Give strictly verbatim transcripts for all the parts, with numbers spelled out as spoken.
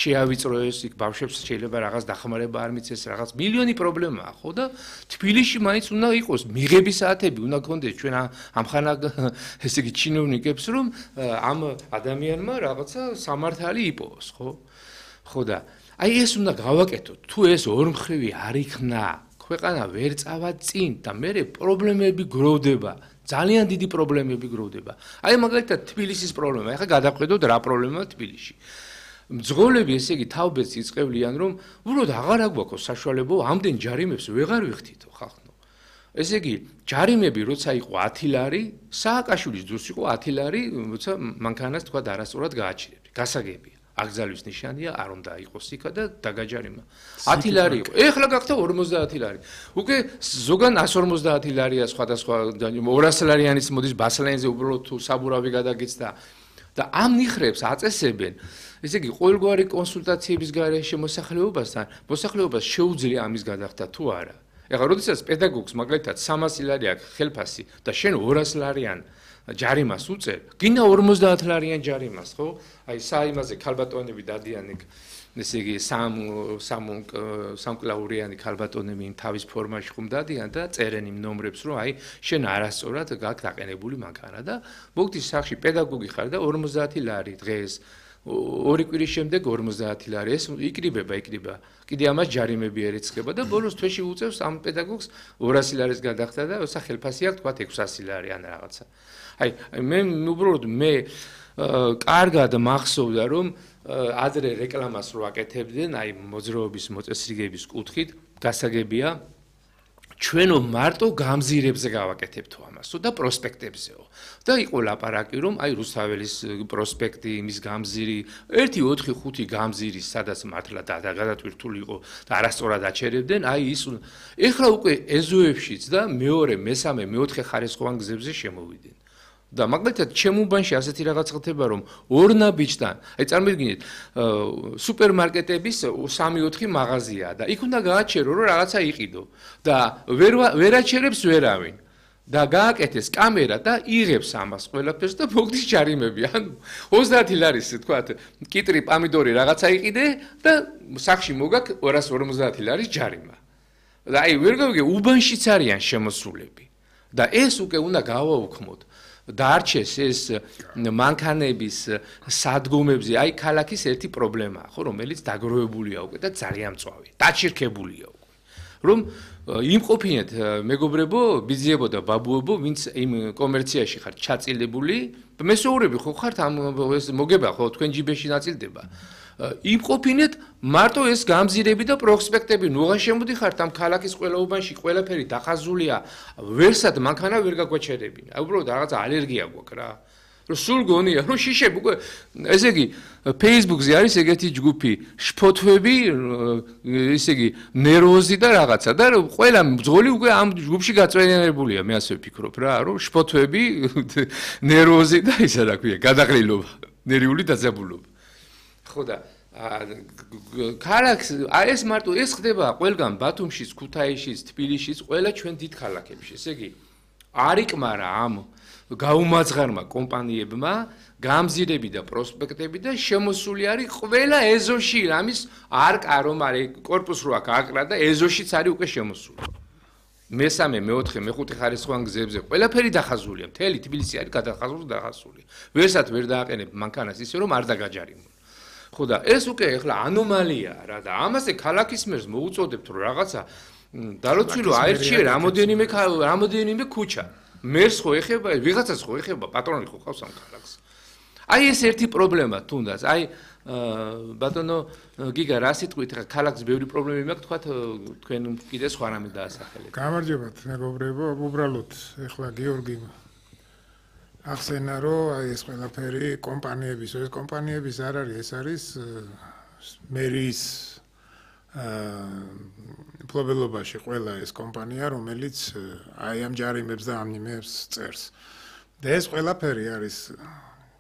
შეავიწრო ეს იქ ბავშვებს შეიძლება რაღაც დახმარება არ მიცეს, რაღაც მილიონი პრობლემაა, ხო და თბილისში მაინც უნდა იყოს მიღების საათები, უნდა გქონდეს ჩვენ ამხანა ესე იგი ჩინოვნიკებს, რომ ამ ადამიანმა რაღაცა სამართალი იპოვოს, ხო? ხო და აი ეს უნდა გავაკეთოთ, თუ ეს ორმხრივი არ იქნა, ქვეყანა ვერ წავა წინ და მე პრობლემები გროვდება. ძალიან დიდი პრობლემები გროვდება. აი მაგალითად თბილისის პრობლემა, ეხლა გადავხედოთ რა პრობლემაა თბილისში. მძღოლები ესე იგი თავბეთს იწყებლიან, რომ უბრალოდ აღარ აგვაქვს საშუალება ამდენ ჯარიმებს ვეღარ ვიხდითო ხალხო. ესე იგი ჯარიმები როცა იყო ათი ლარი, სააკაშვილის დროს იყო ათი ლარი, როცა მანქანას თქვა არასწორად გააჩერებდი. გასაგებია. აგზალის ნიშანია, არ უნდა იყოს იქა და დაგაჯარიმა. ათი ლარი იყო. ეხლა გახდა ორმოცდაათი ლარი. უკვე ზოგან εκατს ორმოცდაათი ლარია სხვადასხვა ორასი ლარიანიც მოდის ბასლენზე უბრალოდ თუ საბურავი გადაგეცდა და ამ ნიხრებს აწესებენ. ესე იგი ყოველგვარი კონსულტაციების გარეშე მოსახლეობასთან, მოსახლეობას შეუძლია ამის გადახდა თუ არა. ეხლა როდესაც პედაგოგს მაგალითად სამასი ლარი აქვს ხელფასი და შენ ორასი ლარიან ჯარიმას უწერ, გინდა ორმოცდაათი ლარიან ჯარიმას, ხო? აი საიმაზე ქალბატონები დადიან იქ, ესე იგი სამ სამ სამკლაურიანი ქალბატონები იმ თავის ფორმაში ხომ დადიან და წერენ იმ ნომრებს, რომ აი შენ არასწორად გაქვს დაყენებული მანქანა და მოგდის სახში პედაგოგი ხარ და ორმოცდაათი ლარი დღეს ორი კვირის შემდეგ ორმოცდაათი ლარი ეს იკრიბება, იკრიბება. კიდე ამას ჯარიმები ერიცხება და ბოლოს თვეში უწევს ამ პედაგოგს ორასი ლარის გადახდა და ოსა ხელფასი აქვს თქვა ექვსასი ლარი ან რაღაცა. აი მე უბრალოდ მე კარგად მახსოვდა რომ ადრე რეკლამას რო აკეთებდნენ აი მოძრაობის მოწესრიგების კუთხით გასაგებია ჩვენო მარტო გამზირებზე გავაკეთებთო ამასო და პროსპექტებზეო და იყო ლაპარაკი რომ აი რუსთაველის პროსპექტი იმის გამზირი ერთი ოთხი ხუთი გამზირი სადაც მართლა გადატვირთული იყო და არასწორად აჩერებდნენ აი ის ეხლა უკვე ეზოებშიც და მეორე მესამე მეოთხე ხარისხოვან გზებზე შემოვიდნენ და მაგალითად ჩემუბანში ასეთი რაღაც ხდება რომ ორ ნაბიჯთან აი წარმოიდგინეთ სუპერმარკეტების სამი ოთხი მაღაზიაა და იქ უნდა გააჩერო რომ რაღაცა იყიდო და ვერ ვერ აჩერებს ვერავინ და გააკეთეს კამერა და იღებს ამას ყველაფერს და მოგდის ჯარიმები ანუ ოცდაათი ლარის თქვათ კიტრი პამიდორი რაღაცა იყიდე და სახში მოგაკ ორას ორმოცდაათი ლარის ჯარიმა და აი ვერ გავიგე უბანშიც არიან შემოსულები და ეს უკვე უნდა გავაუქმოთ დარჩეს ეს მანქანების სადგომებზე აი ქალაქის ერთი პრობლემაა ხო რომელიც დაგროვებულია უკვე და ძალიან მწვავე დაჩირქებულია უკვე რომ იმყოფინეთ მეგობრებო ბიძიებო და ბაბუებო ვინც იმ კომერციაში ხართ ჩაწილებული მესოურები ხო ხართ ამ ეს მოგება ხო თქვენ ჯიბეში ნაწილდება იმყოფინეთ მარტო ეს გამზირები და პროსპექტები ნუღან შემოდიხართ ამ ქალაქის ყველა უბანში ყველაფერი დახაზულია ვერსად მანქანა ვერ გაგვაჩერებინა აი უბრალოდ რაღაცა ალერგია გვაქვს რა რომ სულ გონია რომ შიშები უკვე ესე იგი Facebook-ზე არის ეგეთი ჯგუფი შფოთვები ესე იგი ნერვოზი და რაღაცა და ყველა მძღოლი უკვე ამ ჯგუფში გაწვენებულია მე ასე ვფიქრობ რა რომ შფოთვები ნერვოზი და ისა რა ქვია გადაღლილობა ნერვიული დაძაბულობა ხო და ქალაქს ეს მარტო ეს ხდება ყველგან ბათუმშიც, ქუთაისშიც, თბილისშიც, ყველა ჩვენ დიდ ქალაქებში. ესე იგი არ იკმარა ამ გაუმაძღარმა კომპანიებმა გამზირები და პროსპექტები და შემოსული არის ყველა ეზოში ამის არკა რომ არის კორპუს რო აქ აკრა და ეზოშიც არის უკვე შემოსული. მესამე, მეოთხე, მეხუთე ხარისხოვან გზებზე ყველაფერი დახაზულია. მთელი თბილისი არის გადახაზული და დახაზული. ვერსად ვერ დააყენებ მანქანას ისე რომ არ დაგაჯარიმო. ხო და ეს უკვე ეხლა ანომალიაა რა და ამაზე ქალაქის მერს მოუწოდებთ რომ რაღაცა დალოცვილო აერჩიე რამოდენიმე რამოდენიმე ქუჩა მერს ხო ეხება ვიღაცას ხო ეხება პატრონი ხო ყავს ამ ქალაქს აი ეს ერთი პრობლემა თუნდაც აი ბატონო გიგა რა სიტყვით ხა ქალაქს ბევრი პრობლემები მაქვს თქვა თქვენ კიდე სხვა რამე დაასახელეთ გამარჯობათ მეგობრებო უბრალოდ ეხლა გიორგი ახსენა რომ აი ეს ყველაფერი კომპანიების ეს კომპანიების არ არის ეს არის მერის პრობლემაში ყველა ეს კომპანია რომელიც აი ამ ჯარიმებს და ამ ნიმებს წერს და ეს ყველაფერი არის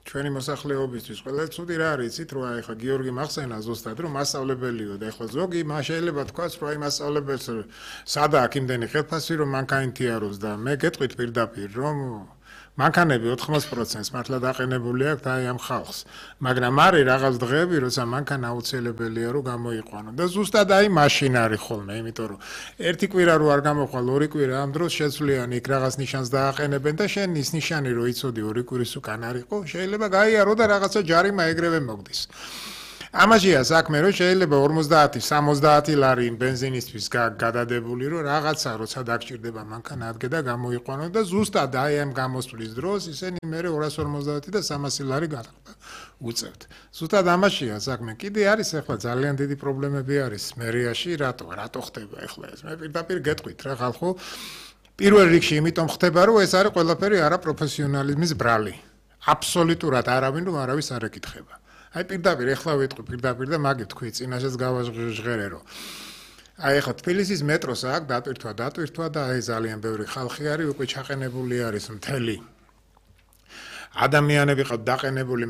ჩვენი მოსახლეობისთვის ყველა ცუდი რა არის იცით რომ აი ხა გიორგი მახსენა ზუსტად რომ მასწავლებელიო და ეხლა ზოგი მას შეიძლება თქვას რომ აი მასწავლებელს სადა აქ იმდენი ხელფასი რომ მანქანა თიაროს და მე გეტყვით პირდაპირ რომ მანქანები ოთხმოცდ პროცენტს მართლა დაყენებული აქვს და აი ამ ხალხს. მაგრამ არის რაღაც დღეები, როცა მანქანა აუცილებელია რომ გამოიყვანო და ზუსტად აი მაშინ არის ხოლმე, იმიტომ რომ ერთი კვირა რო არ გამოხვალ, ორი კვირა ამ დროს შეცვლიან იქ რაღაც ნიშანს დააყენებენ და შენ ის ნიშანი რო იცოდი ორი კვირის უკან არისო, შეიძლება გაიარო და რაღაცა ჯარიმა ეგრევე მოგდის. ამაშია საქმე, რომ შეიძლება ორმოცდაათი სამოცდაათი ლარი ბენზინისთვის გადადებული, რომ რაღაცა როცა დაგჭირდება მანქანა ადგე და გამოიყვანო და ზუსტად აი ამ გამოსვლის დროს ისინი მე ორას ორმოცდაათი და სამასი ლარი უწევთ. ზუსტად ამაშია საქმე. კიდე არის ახლა ძალიან დიდი პრობლემები არის მერიაში, რატო რატო ხდება ახლა ეს? მე პირდაპირ გეტყვით რა ხალხო. პირველ რიგში იმიტომ ხდება, რომ ეს არის ყველაფერი არაპროფესიონალიზმის ბრალი. აბსოლუტურად არავინ რომ არავის არ ეკითხება. აი პირდაპირ ეხლა ვიტყვი პირდაპირ და მაგით თქვი წინაშეც გავაჟღერე რომ აი ეხლა თბილისის მეტროს აქ დატვირთვა დატვირთვა და აი ძალიან ბევრი ხალხი არის უკვე ჩაყენებული არის მთელი ადამიანები ყავთ დაყენებული